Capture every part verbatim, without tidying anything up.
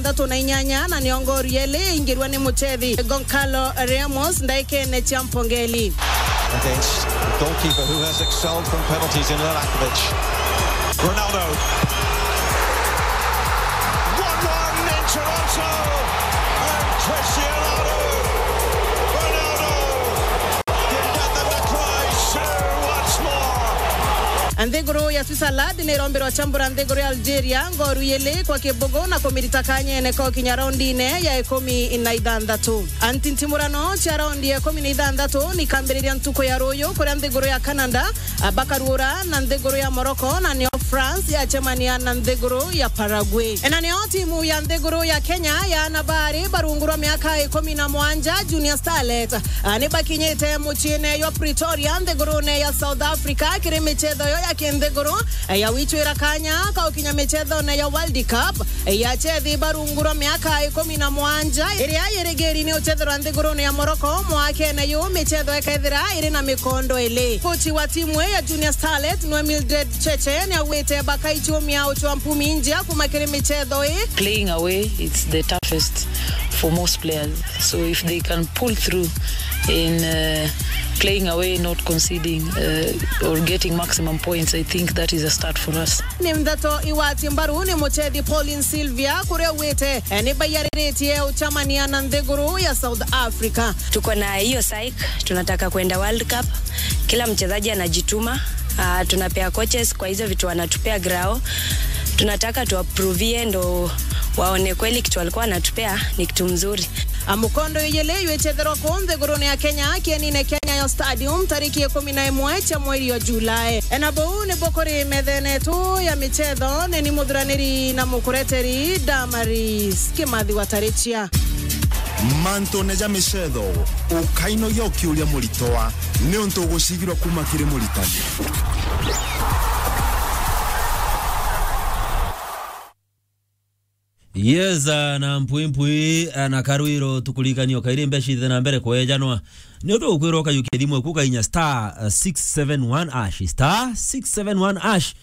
thatu na inyanya, na nio ngoru yeli ingirwa ni muchethi Goncalo Ramos ndaikene cia mpongeli. Against the goalkeeper who has excelled from penalties in Lalakovic. Ronaldo. One one in Toronto. And Cristiano Ronaldo can get them to close two once more. Nthiguru ya Switzerland ni irombirwa chambura nthiguru ya Algeria ngoru yili kwa kibugu na kumirita kanyene ko kinya raundine ya ikumi na ithanthatu. Antintimurano cia raundi ya ikumi na ithanthatu ni kambiriria ntuku ya ruyu kuria nthiguru ya Canada, a, bakaruura na nthiguru ya Morocco, na nio France yacemania na nthiguru ya Paraguay. Na nio timu ya nthiguru ya Kenya ya ana baari barungu rwa miaka ikumi na mwanja, Junior Starlet, a, ni bakinyite muciine jwa Pretoria, nthigurune ya South Africa, kiri michetho yo ya kinthiguru, a, ya wichwira kanya ka ukinya michethone ya World Cup, a, ya chethi barungu rwa miaka ikumi na mwanja, iria yirigiri ni uchethirwa nthigurune ya Morocco mwakene yu, michetho ikethira iri na mikondo ili. Kochi wa timu ii ya Junior Starlet nwe Mildred Cheche ni augite bakaichumia uchwa mpumi njia kuma kiri michetho ii. Playing away, it's the toughest for most players. So if they can pull through in, uh, playing away, not conceding, uh, or getting maximum points, I think that is a start for us. Ni ndeto igwati mbaru ni muchethi Pauline Sylvia, kuria augite, eh, ni baiyariritie uchamania na nthiguru ya South Africa. Tuko na hiyo psyche, tunataka kwenda World Cup. Kila mchezaji anajituma. Ah, tunapea coaches kwa hizo vitu wanatupea grao. Tunataka tuwaprovie ndo waone kweli kitu walikuwa wanatupea ni kitu mzuri. A, mukondo iyili yichetherwa ku nthigurune ya Kenya, kienine kia Nyayo Stadium, tariki ikumi na imwe cia mweri wa Julai. E, na buu nibo kuri methene yetu ya michetho, ni ni muthuraniri na mukureteri Damaris Kimathi wa Tarichia. Mantune ja michetho, ukainogia ukiuria muritwa, niuntu ugucigirwa kuma kiri muritani. Yes, ah, na mpwi mpwi, ah, na karwiro tukuririkania o kairi mbeca ithe na mbere kwejanwa. Ni untu ukwirwa ukayukia thimu eku ukainya star, ah, six seven one hash, star six seven one hash.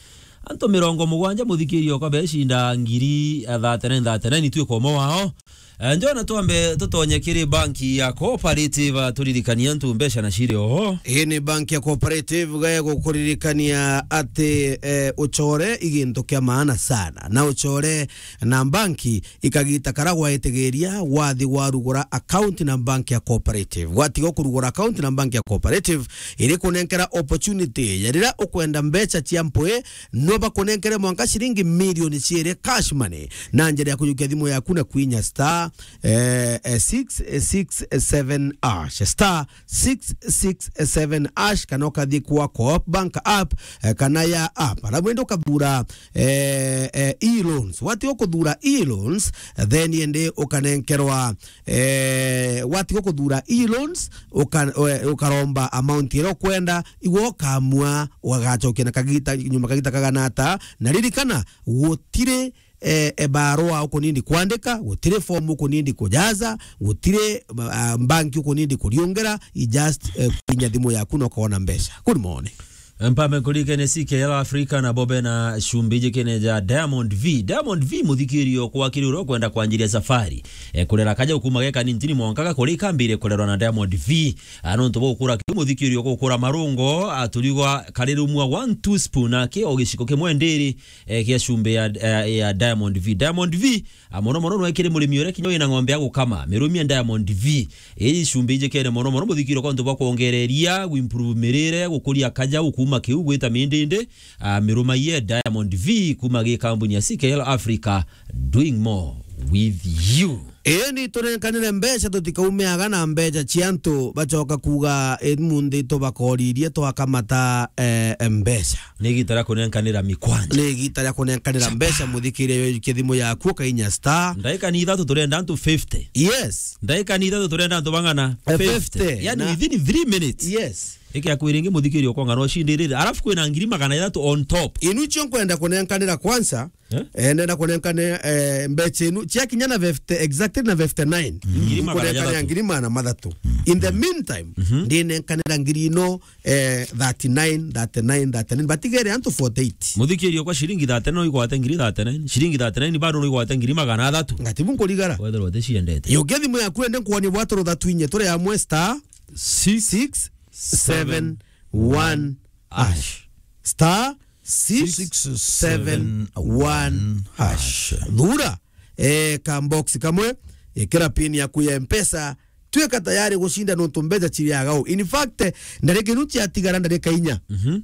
Antu mirongo mugwanja muthikiria okwa becinda ngiri, ah, thirty-nine, thirty-nine, itwika umwe wao. Eh, njona twambe tutonye kiri banki ya Cooperative, ah, turirikanie antu mbeca na ciri oho. Ii ni banki ya Cooperative ga gukuririkania ati, eh, uchore i gintu kia maana sana. Na uchore na banki i kagita kara gwaitigiria wathi warugura account na banki ya Cooperative. Gwatiga kurugura account na banki ya Cooperative, iri kunenkera opportunity ya riria ukwenda mbeca cia mpwi, no bakunenkere mwanka ciringi milioni ciiri cash money na njira ya kuyukia thimu yaku na kwinya star, eh, eh, six six seven hash, star six six seven hash, kana ukathi kwa Coop Bank app, eh, kana ya app. Alafu ende ukathura, eh, eh, e-loans. Watiga kuthura e-loans, then ende ukanenkerwa, eh, watiga kuthura e-loans, uka-, eh, ukaromba amount iria ukwenda, igwe ukamua ugagacokia na kagita, nyuma kagita kagana ata. Na ririkana, gutiri, eh, eh, barua ukunindi kwandika, gutiri form ukunindi kujaza, gutiri, ah, banki ukunindi kuriungera, i just, eh, kuinya thimu yaku na ukona mbeca. Good morning. Mpambe nkuririkanie C K L Africa na bobe na cumbi ijikene ja Diamond V. Diamond V, muthikirio kwa kiri uria ukwenda kwanjiria safari. Eh, kurera kaja ukuma geka ni ntini mwanka gakuri kambire kurerwa na Diamond V. Ah, nontu bwa gukura kiu muthikirio gukura marungo, ah, turigwa kari rumwa one two spoon aki o giciko kimwe ndiri, eh, kia cumbi ya, eh, ya Diamond V. Diamond V, ah, mono mono nwe kiri murimi uria kinya wina ng'ombe ya gukama, mirumie Diamond V. Ii cumbi ijikene mono mono muthikirio kwa ntu bwa kwongereria, guimprove mirire, gukuria kaja, gukuma kiu, gwita mindindi, ah, mirumaiye Diamond V kuma gi kambuni ya C K L Africa, doing more with you. Ii ni tunenkanire mbeca, tutikaumeaga na mbeca cia antu bacoka kuuga, "Ii munthi tubakoririe twakamata, eh, mbeca." Ni igita ria kunenkanira mikwanja. Ni igita ria kunenkanira mbeca, muthikiria yo kithimu yaku ukainya star. Ndaika ni ithatu turenda antu fifty. Yes. Ndaika ni ithatu turenda antu bang'ana? Eh, fifty. Fifty. Yani na within three minutes. Yes. Iki akwiringi muthikiria ukong'ana ucindirire. Alafu kwina ngiri magana jathatu on top. Inu cio nkwenda kunenkanira kwanza. Eh? Eh, ndenda kunenkane, eh, mbeca inu. Ciakinya na fifty exact. three na fifty-nine. Ngiri magana jathatu. Nkunenkania ngiri magana mathatu. In the meantime, ndinenkanira ngiri ino, eh, thirty-nine, thirty-nine, thirty-nine. Batigere antu forty-eight. Muthikirio kwa shilingi thirty-nine no igwate ngiri thirty-nine. Shilingi thirty-nine bado no igwate ngiri magana athatu. Ngatibu nkurigara. Wethirwa uticiendete. Yukia thimu yaku ende nkuonie bwaturutha twinye turi amwe star six seven one hash. Star six seven one hash. Thura, eh, ka box kamwe, ikira pin yaku ya Mpesa, tuika tayari gucinda nontu mbeca ciriaga u. In fact, ndarika inu ciatigara ndarika inya. Mhm.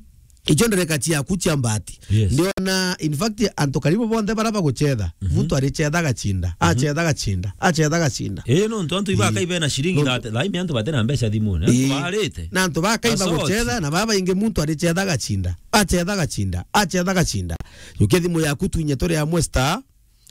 Icio ndarika ciaku cia mbati. Yes. Ndiona, in fact, antu karibu bonthe bara bagucetha. Mhm. Muntu aricetha agacinda. Mhm. Acetha agacinda. Acetha agacinda. Eh, nontu antu iba kai bena shilingi thirty, thaimi antu batena mbeca thimune. Antu baarite. Na antu bakai bagucetha, na baba ingi muntu aricetha agacinda. Acetha agacinda. Acetha agacinda. Yukia thimu yaku twinye turi amwe star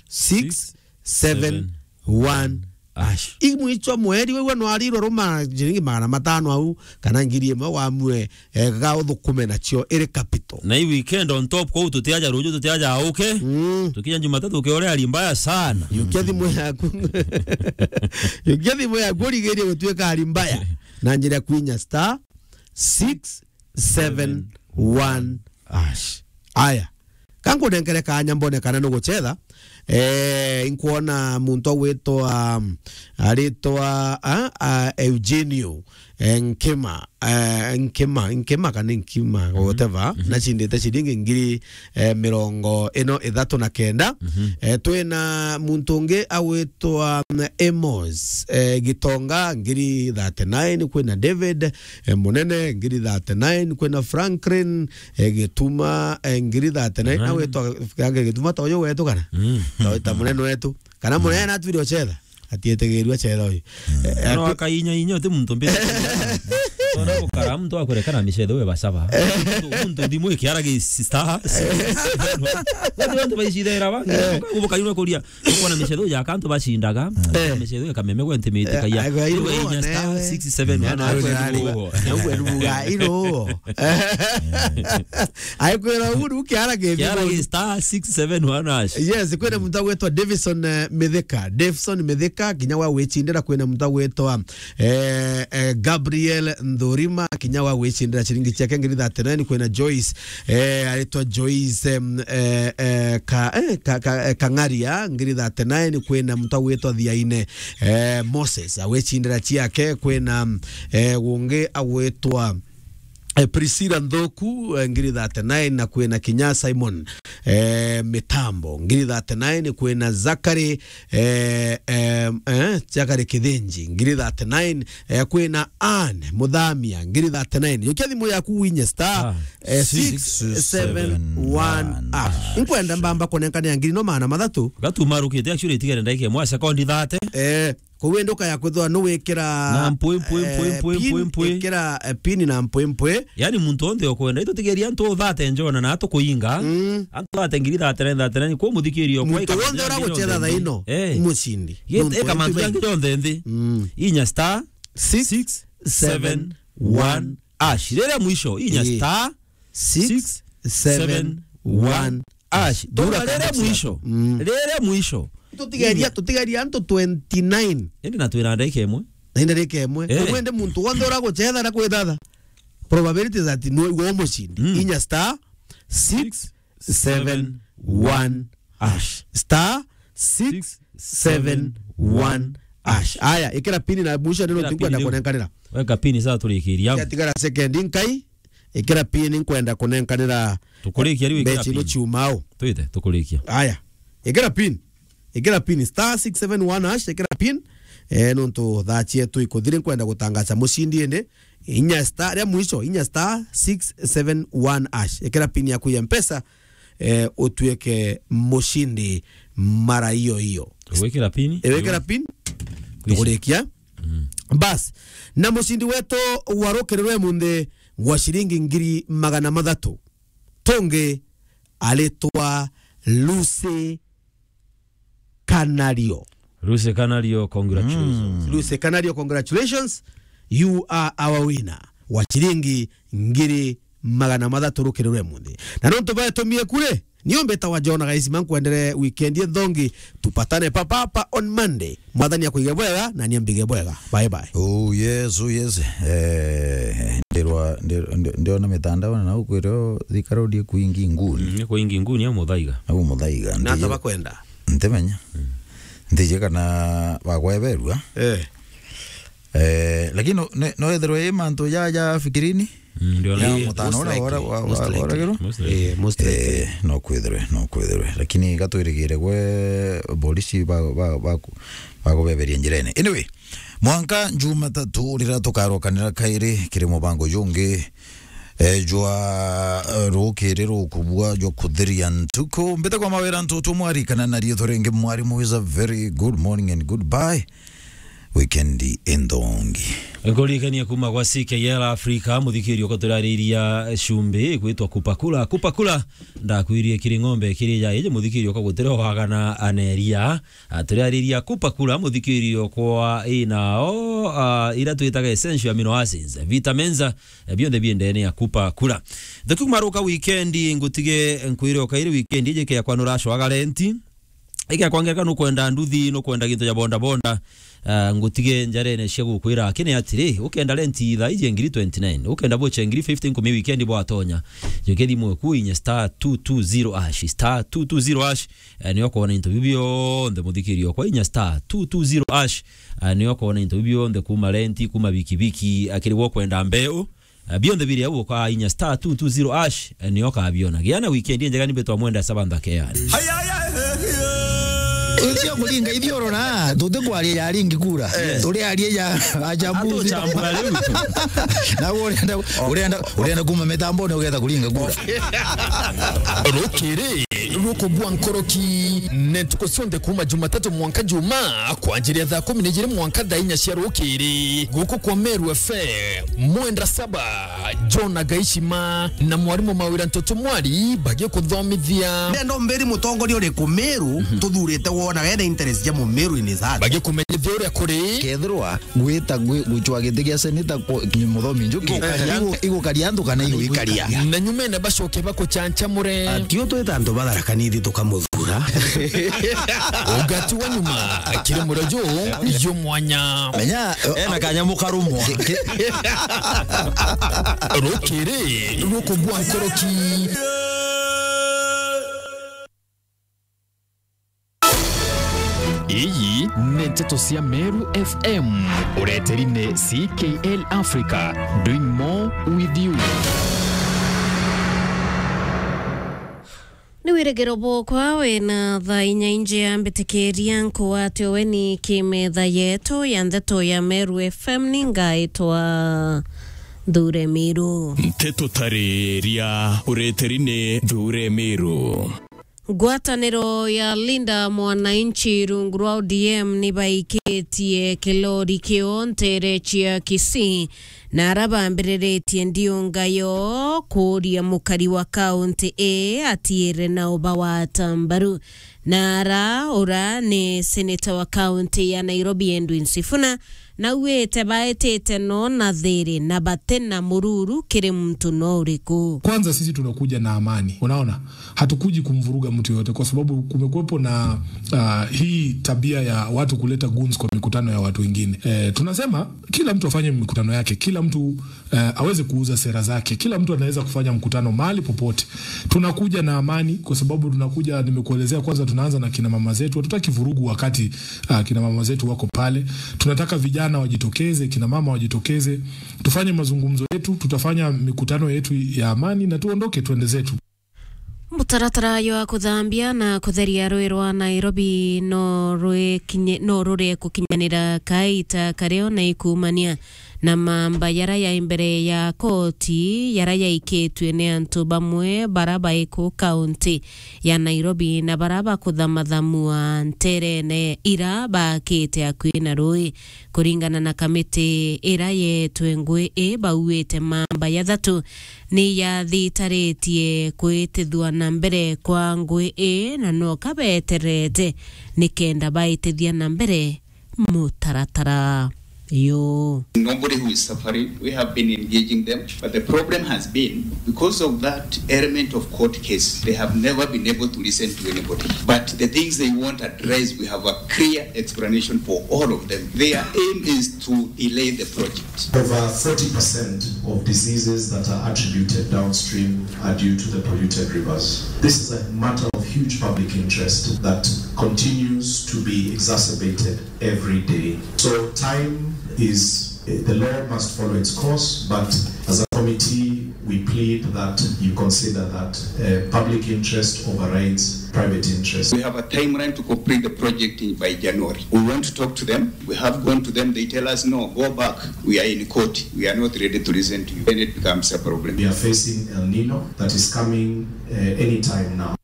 six seven one hash. Imwichwa mweri, wigua nwarirwe ruma ciringi magana matano au, kana ngiri imwe wamue, eh, ga uthukume nacio iri capital. Na i weekend on top, kwou tutiaja ruju, tutiaja auke. Mm. Tukinya Jumatatu, ukiore ari mbaya sana. Yukia thimu yaku. Yukia thimu yaku, urigirie gutuika ari mbaya. Na njira ya kwinya star six seven one hash. Aya. Kankunenkere kanya mbone kana nugucetha. Eh, inkwona muntu agwitwa, aritwa, a, a, Eugenio, eh, Nkima, eh, Nkima, Nkima kana Nkima, whatever. Mhm. Nacindite ciringi ngiri, eh, mirongo ino ithatu na kenda. Mhm. Eh, twina muntu ungi agwitwa, mm, Amos, eh, Gitonga, ngiri thirty-nine, kwina David, eh, Munene, ngiri thirty-nine, kwina Franklin, eh, Gituma, eh, ngiri thirty-nine. Nine. Nawe twa-, fikirage Gituma ta uyu wetu kana? Mm. Ta, ta munene wetu. Kana munene na atwire ocetha? Atietegirwe acetha uyu. Mm. Eh, no akainya inya uti muntu mbite. Tona gukara muntu akureka na micetho we basaba. Muntu, muntu thimu ikiara gi star. Watu, watu baicithera bangi. Eh. Ukagubuka yuna kuria. Ukwona micetho ya kantu bacindaga, eh, micetho ya kameme gwe ntimiti, eh, kaia. Aigo, aigo, inya star six seven one. Aikwira uru kiara ki kiara ki star six seven one hash. Yes, kwina muntu agwitwa Davison, eh, Mithika. Davison Mithika, kinya wa gwicindira. Kwina muntu agwitwa eh, eh, Gabriel Nthurima, kinya wa gwicindira ciringi ciake ngiri thirty-nine. Kwina Joyce, eh, aritwa Joyce, em, eh, eh, ka, eh, ka, ka, eh, Kang'aria, ngiri thirty-nine. Kwina muntu agwitwa Thiaine, eh, Moses, agwicindira ciake. Kwina, eh, gungi agwitwa eh, Priscilla Nthuku, eh, ngiri thirty-nine, na kwina kinya Simon, eh, Mitambo, ngiri thirty-nine, kwina Zachary, eh, eh, eh, Zachary Kithinji, ngiri thirty-nine, eh, kwina Anne Muthamia, ngiri thirty-nine. Yukia thimu yaku winye star, ah, eh, six seven one hash. Nkwenda mbamba kunenkania ngiri no maana mathatu. Gatumarukite, actually, itigere ndaike mwa sekondi thirty. Eh, Kou indi ukaya kwithirwa nuwikira, na mpwi, mpwi, mpwi, eh, mpwi, pin, mpwi, mpwi. Ikira, eh, pin na mpwi, mpwi. Yani muntu onthe ukwenda, itutigeria antu thate njona na atukuinga. Mm. Antu thate ngiri thate na thate na, kwa muthikirio, kwa muntu wonthe uragucetha thaa ino, eh, mucindi. Ye, nontu eka mantu yangi jonthe nthi. Mm. Inya star six seven one hash. Rere mwisho, inya star six seven one hash. Dura rere mwisho. Mm. Rere mwisho. Tutigeria, tutigeria antu twenty-nine. Indi na twina ndagika imwe. Na indi ndagika imwe. Eh. Ugwende muntu wonthe uragucetha na kwithatha. Probability that no igwo mucindi. Mm. Inya star six seven one hash. Star six seven one hash. Aya, ikira pin na mwisho ndio tukwenda kunenkanira. Weka pin sasa turikiria. Yatigara second nkai. Ikira pin nkwenda kunenkanira. Tukurikia riu ikira pin. Mbechi no ciumao. Twite, tukurikia. Aya. Ikira pin. Ikira pin star six seven one hash, ikira pin. Eh, nontu thaa cietu ikuthiri nkwenda gutangaza mucindi indi. Inya star, ria mwisho, inya star six seven one hash. Ikira pin yaku ya Mpesa, eh, utuike mucindi mara iyo iyo. Wikira pin? Eh, wikira pin. Kwisha. Tukurikia. Mm. Bas. Na mucindi wetu wa rukiri rwe munthi wa ciringi ngiri magana mathatu. Tungi aritwa Lucy Kanario. Lucy Kanario, congratulations. Mm. Lucy Kanario, congratulations. You are our winner wa ciringi ngiri magana mathatu rukiri rwe munthi. Na nontu baetumie kure, Nio mbitawa John Gaisima, nkwendere weekend inthongi. Tupatane papa hapa on Monday. Mwathani akuige bwega na ni ambige bwega. Bye bye. Oh yes, oh yes. Eh, ndirwa, ndir-, ndir-, ndiona mitandao na nau kwireo Thika Road ikuingi nguni. Mm, ikuingi nguni au muthaiga. Au muthaiga. Na ata bakwenda? Ntimenya. Mm. Ntiji kana bagweberua. Eh. Eh, lakini no, ne-, no ethirwe i mantu ja, ja fikirini? Mm, ndio. Ya mutano ura, ura, wa, wa, uragirwo? Most likely. Eh, no kwithirwe, no kwithirwe. Lakini gatwirigire gwe polisi ba, ba, ba, bakubeberia njirene. Anyway, mwanka Jumatatu riria tukarokanira kairi kiri mubango jungi, eh, jwa, eh, rukiri rukubua jwa kuthiria ntuku. Mbite kwa mawira ntutu mwarikana na riitwa ringi mwarimu is a very good morning and goodbye. Weekend inthongi. Nkuririkania kuma gwa C K L Africa, muthikiri uko turariria cumbi igwitwa Kupakula. Kupakula, ndakwirie kiri ng'ombe kiri ja iji muthikiri uko gutire wagana aneria. Ah, turariria Kupakula, muthikiri okwa inao, ah, ira twitaga essential amino acids, vitamins, eh, bionthe bi ndene ya Kupakula. Thukiuma ruka weekend, ngutige nkwire ukairi weekend iji ke yakwa nuracwaga renti. Iga kwa ngereka nukwenda nduthi, nukwenda gintu ja bonda bonda, ah, ngutige njarene cia gukwira, lakini atiri, ukenda renti thaa iji ngiri twenty-nine, ukenda bocha ngiri fifty nkumi weekend bwatonya. Juke thimu eku inya star two two zero hash, star two two zero hash, eh, nio kwona into biu bionthe muthikiri okwa inya star two two zero hash, eh, nio kwona into biu bionthe kuma renti, kuma bikibiki, akiri gwo kwenda mbeu, eh, bionthe biri au uka inya star two two zero hash, eh, nio kabiona. Gia na weekend njega nimbe twamwenda saba nthake yani. Ucio kuringa ithioro na tutikwaria ya ringi kura. Eh. Turiaria ya achambuzi. Atuchambura riu. Na urenda, urenda, urenda kuma mitambone ugetha kuringa kura. Rukiri rukugwa nkoroki, ne ntuku cionthe kuma Jumatatu mwanka Juma, kwanjiria thaa kumi na ijiri mwanka thaa inya cia rukiri, guku kwa Meru F M, mwenda saba, John Agaishima na mwarimu Mawira Ntoto Mwari bagikuthomithia. Nendo mbiri mutongoria uriku Meru tuthurite wona wena interest ja Mumeru in his heart. Bagikumenyithia uria kuri. Kethirwa gwita gwi-, gucwa giti gia seneta ku-, ni Muthomi Njuki, igukaria antu kana iguikaria? Na nyumene bacoke bakuchanchamure. Atio twita antu ba Tharaka Nithi tukamuthura. Ugati wa nyuma, kiri murojo, yo mwanya. Menya, ena kanyamu karumwa. Ki-, ki-, rukiri, rukugwa nkoroki. Iyi ni nteto cia Meru F M, ureteri ni C K L Africa, doing more with you. Ni wirigiro bwokwa wina thaa inya injia mbitikiria nkuatio weni kimetha yetu ya nteto ya Meru F M, ni ngaitwa Nthure Miru. Nteto tariria ureteri ni Nthure Miru. Ngwataniro ya Linda Mwananchi rungu rwa O D M ni baikitie kilori kio ntere cia Kisii, na ara bambiriritie ndiunga yo kuuria mukari wa kaunti ii atiire na ubawata mbaru. Na ara ura ni seneta wa kaunti ya Nairobi Edwin Sifuna, na auite baitite no na thiri na bati na mururu kiri muntu no uriku. Kwanza sisi tunakuja na amani. Unaona? Hatukuji kumvuruga mtu yoyote kwa sababu kumekuwepo na, ah, hii tabia ya watu kuleta goons kwa mikutano ya watu wengine. Eh, tunasema kila mtu afanye mikutano yake, kila mtu, eh, aweze kuuza sera zake, kila mtu anaweza kufanya mkutano mahali popote. Tunakuja na amani kwa sababu tunakuja, nimekuelezea kwanza, tunaanza na kina mama zetu. Hatutaki vurugu wakati, ah, kina mama zetu wako pale. Tunataka vijana wajitokeze, kina mama wajitokeze. Tufanye mazungumzo yetu, tutafanya mikutano yetu ya amani na tuondoke, tuende zetu. Mutaratara jwa kuthambia na kutheria rui rwa Nairobi no rwikinye-, no rurie kukinyanira kaita kario na ikumania na mamba yara ya imbere ya koti yara yaikitue ni antu bamwe bara baiku kaunti ya Nairobi na bara bakuthamathamua nterene ira bakite akui na rui. Kuringana na kamiti ira yetwe ngui i, bauite mamba ya thatu ni yathitaritie kuitithua na mbere kwa ngui ii, na no kabeterete nikenda baitithia na mbere mutaratara. Yo. Nobody who is suffering, we have been engaging them, but the problem has been, because of that element of court case, they have never been able to listen to anybody. But the things they want addressed, we have a clear explanation for all of them. Their aim is to delay the project. Over forty percent of diseases that are attributed downstream are due to the polluted rivers. This is a matter of huge public interest that continues to be exacerbated every day. So time is, eh, the law must follow its course, but as a committee, we plead that you consider that, eh, public interest overrides private interest. We have a timeline to complete the project in, by January. We want to talk to them. We have gone to them. They tell us, "No, go back. We are in court. We are not ready to listen to you." Then it becomes a problem. We are facing El Nino that is coming, eh, anytime now.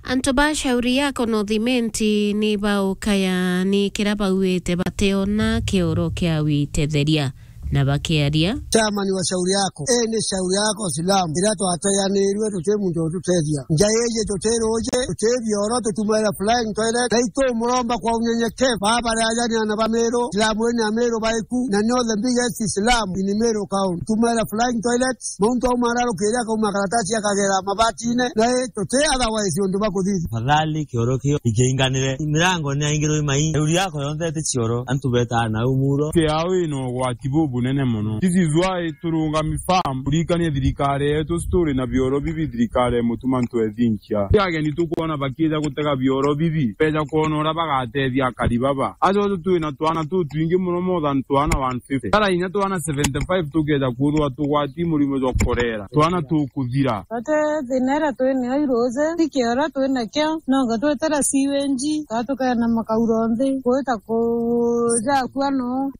Antu ba Shauri Yako North Imenti ni baukaya ni kira bauite bateona kioro kia witetheria. Na bakiaria, chairman wa Shauri Yako, ii ni Shauri Yako slum iria twateanirue, tuti muntu ututethia. Nja iji tuti ruuji, tuti bioro, tutumaira flying toilet. Na itumuromba kwa unyenyekevu, baba ri ajani ana ba Meru, slum ii ni Ameru baiku, na nio the biggest slum in Meru County. Tumaira flying toilet, muntu auma ararukiria, akauma karatasi akagera mabatine, na i tuti otherwise undu bakuthithia. Tafadhali kioro kio ikiinganire, mirango ni yaingirwe mai, Shauri Yako yonthe iti cioro, antu betaa nau muro. Kiao ina ugwati bubunene mono. This is why turungami firm, kurikania thirikari yetu, turi na bioro bibi, thirikari ya Mutuma Ntwethinkia. Ti ageni tukwona bakiija gutega bioro bibi, beja kwona uria bagatethia akari baba. Aja uju twina twana tutwingi mono, more than twana one fifty. Tara inya twana seventy-five tukeja kwithirwa tugwati murimo jwa korera. Twana tukuthira. Bate thina iria twinayo iruuji, ti kioro twinakio, nonga twetera sewage, twatukaena makauro nthi, gwita kuja akua no.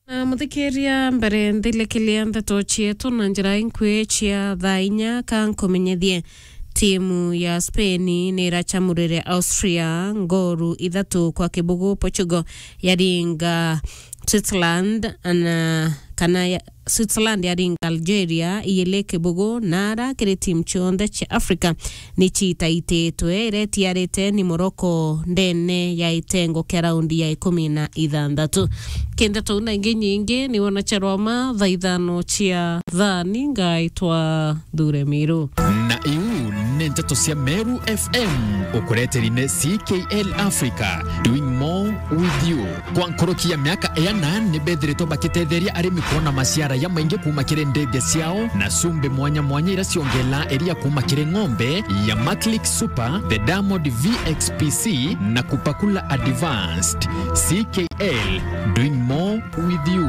Na muthikiria, mbere nthilikiria ndeto cietu na njira inkui cia thaa inya, ka nkumenyethie, timu ya Spain ni iracamurire Austria ngoru ithatu kwa kibugu. Portugal yaringa Switzerland, na kana ya, Switzerland yaringa Algeria iyili kibugu, na ara kiri timu cionthe cia Africa ni citaititwe, iria itiarite ni Morocco ndene ya itengo kia raundi ya ikumi na ithanthatu. Ki ndeto na ingi nyingi, ni wona cia rwama thaa ithano cia thani, ngaitwa Thure Miru. Na iu ni nteto cia Meru F M, ukureteri ni C K L Africa, doing more with you. Kwa nkuruki ya miaka iana, ni bethiritwe bakitetheria arimi kwona maciara jamaingi kuuma kiri ndithia ciao na cumbi mwanya mwanya iria ciongelaa iria kuuma kiri ng'ombe ya Maclick Super, the Diamond V X P C na Kupakula Advanced. C K L, doing more with you.